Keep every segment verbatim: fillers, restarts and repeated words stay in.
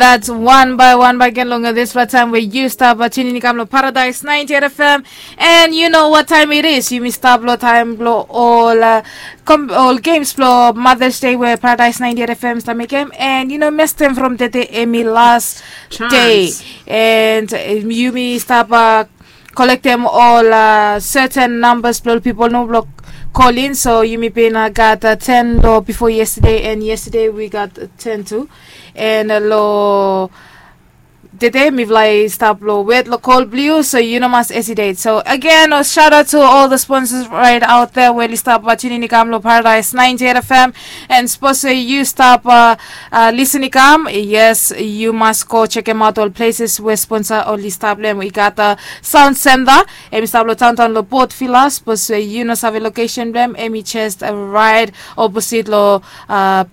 That's one by one by gen long dispela taim we yu stap tunin i kam long Paradise ninety-eight F M. And you know what time it is. Yumi stap long taim bilong ol uh, kom, ol games bilong Mother's Day we Paradise ninety-eight F M stap mekim. And you know mestem from tete emi last day. And uh, yumi stap uh, kolektem ol uh, certain numbers bilong ol people no bilong call in. So yumi bin uh, gat uh, ten lo before yesterday, and yesterday we got uh, ten too. And uh, lo today mifala i stap lo wet lo call blue, so you know mas hesitate. So again, a shout out to all the sponsors right out there. Well, i stap watching in i kam lo Paradise ninety-eight F M. And suppose you stop uh, uh, listen i kam, yes, you must go check him out all places where sponsor only stop them. We got the Sound Center. Emi stop lo downtown lo Port Villa. Suppose you know save location them. Emi just uh, right opposite lo uh,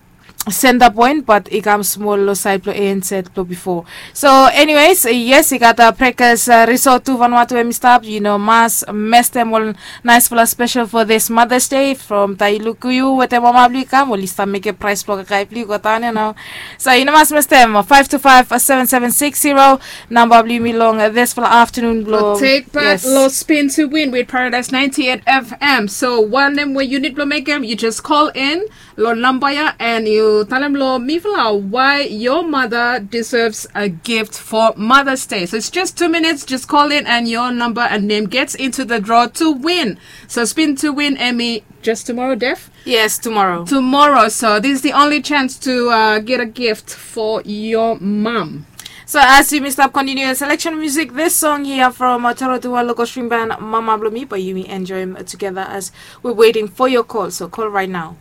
center point, but i kam small lo side lo A N Z lo before. So anyways, yes, i got a Breakers uh, Resort to Vanuatu emi stop. You know, mas mestem all nice fala special for this Mother's Day from Tailuku. You with the mama blue come, well, you stop make a price block a guy blue got on, you know. So you know, mas mestem five two five seven seven six zero. Number blue me long uh, this fala afternoon blow. Take part yes. Lo spin to win with Paradise ninety-eight F M. So one name where you need to make them, you just call in lo namba ya, and you tell them lo mifala why your mother deserves a gift for Mother's Day. So it's just two minutes. Just call in, and your number and name gets into the draw to win. So spin to win, Emmy, just tomorrow, Def? Yes, tomorrow. Tomorrow. So this is the only chance to uh, get a gift for your mom. So as you must stop continue your selection music, this song here from uh, Toro Tuwa Local Stream Band, Mama Blomi, but you may enjoy him together as we're waiting for your call. So call right now.